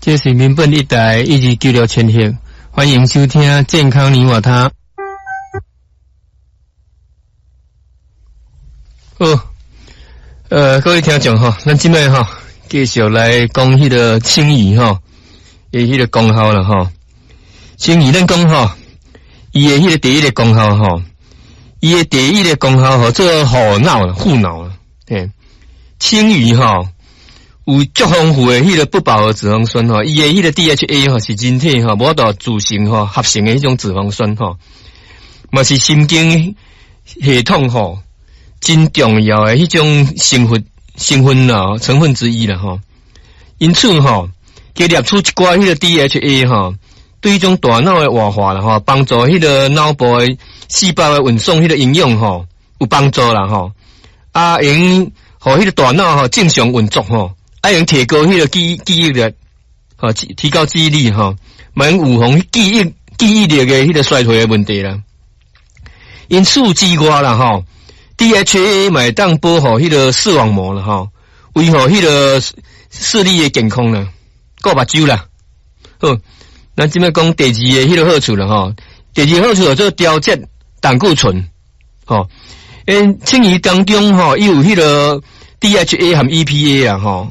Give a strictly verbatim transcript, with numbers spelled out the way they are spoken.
這是民本一台一二九六千赫，歡迎收聽健康你我他。好，呃，各位聽眾吼，咱這擺吼繼續來講彼個青魚吼，的彼個功效啦吼。青魚咱講吼，伊的彼個第一个功效吼，伊的第一个功效吼，做護腦護腦，嘿，青魚吼有足豐富的彼個不飽和脂肪酸吼，伊的彼個 D H A 吼是人體吼無法度自行吼合成的彼種脂肪酸吼，嘛是神經系統吼真重要的彼種成分成分啦，成分之一啦吼。因此吼，加攝取一寡彼個 D H A 吼，對彼種大腦的活化啦吼，幫助彼個腦部的細胞的運送彼個營養吼，有幫助啦吼。啊，會用予彼個大腦吼正常運作吼。啊，用提高彼個記記憶力，吼，提高記憶力吼，嘛用預防記憶記憶力的彼個衰退的問題啦。因此之外啦吼，D H A 嘛會當保護彼個視網膜啦吼，維護彼個視力的健康啦，顧目睭啦。好，咱這擺講第二个彼個好處啦吼，第二个好處叫做調節膽固醇，吼，因青魚當中吼，伊有彼個 D H A 和 E P A 啊吼。